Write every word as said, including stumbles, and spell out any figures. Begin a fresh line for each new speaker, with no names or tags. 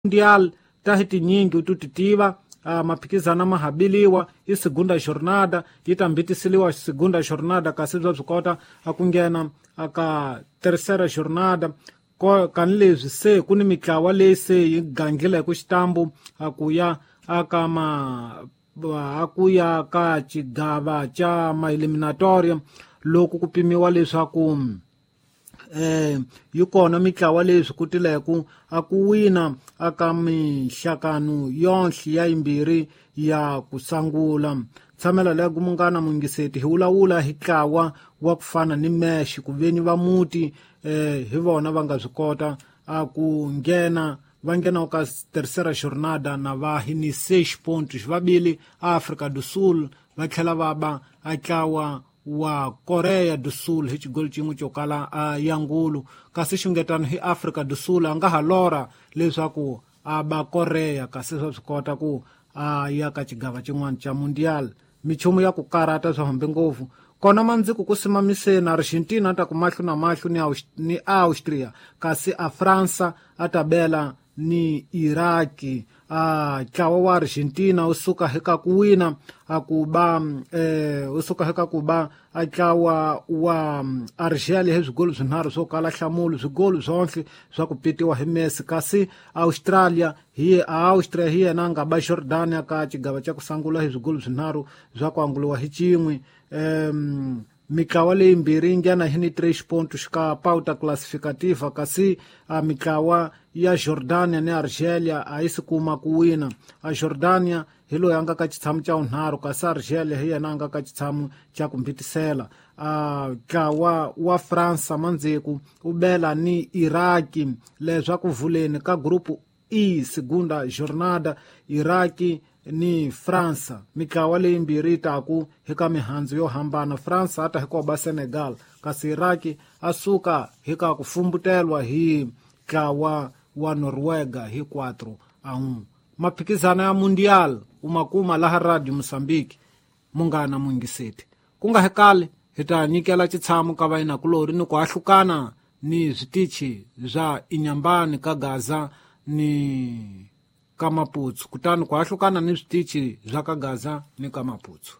Mundial ta hi tinyingi u ti tiva uh, maphikizano ma habiliwa i segunda jornada yi ta mbitiseliwa segunda jornada kasi bya swi kota a ku nghena aka tercera jornada kani leswi se ku ni mitlawa leyi se yi gangile hi ku xitambu a ku ya aka ma a ku ya ka xigava xa ma-eliminatoria loko ku pimiwa leswaku eh yi kona mitlawa leyi swi kotileku a ku wina aka minhlakano yonhle ya yimbirhi ya ku sangula tshamela leya ku munghana mungiseti hi vulavula hi ntlawa wa ku fana ni Mexico veni va muti eh hi vona va nga swi kota a ku nghena va nghena ka tercera jornada na va hi ni seis pontos vabili Africa do Sul va tlhela va ba a ntlawa wa Korea do Sul hi xigolo xin'we xo kala a yangulu kasi xungetano hi Africa do Sul a nga ha lora leswaku a ba Korea kasi swa swi kota ku a ya ka xigava xin'wana xa Mundial michumu ya ku karata swa hambi ngopfu kona mandziku ku simamiseni Argentina a ta ku mahlo na mahlo ni, ni Austria kasi a Fransa a ta bela ni Iraki a ntlawa wa Argentina wu suka hika ku wina a ku ba eh wu suka hika ku ba a ntlawa wa Argelia hi swigolo swinharhu swo kala nhlamulo swigolo swonhle swa ku pitiwa hi Messi kasi Australia hi Austria hi yena a nga ba Jordania ka xigava xa ku sangula hi swigolo swinharhu swa ku anguliwa hi xin'we um mitlawa leyimbirhi yi nghena hi ni três pontos ka pauta classificativa kasi a mitlawa ya Jordania ni Argelia a yi si kuma ku wina a Jordania hi loyi a nga ka xitshamo xa vunharhu kasi Argelia hi yena a nga ka xitshamo xa ku mbitisela a ntlawa wa Fransa mandzheku u bela ni Iraki leswaku vuleni ka grupu E segunda jornada Iraki ni Fransa mitlawa leyimbirhi yi taku hika mihandzu yo hambana Fransa a ta hikuva ba Senegal kasi Iraki a suka hika ku fumbutelwa hi ntlawa wa Noruega hi quatro a um maphikizano ya Mundial u ma kuma laha Radio Mozambique munghana mungiseti ku nga hekali hi ta nyikela xitshamo ka vayinakulori ni ku ahlukana ni switichi swa Inyambani ka Gaza ni ka Maputsu kutani ku ahlukana ni switichi swa ka Gaza ni ka Maputsu.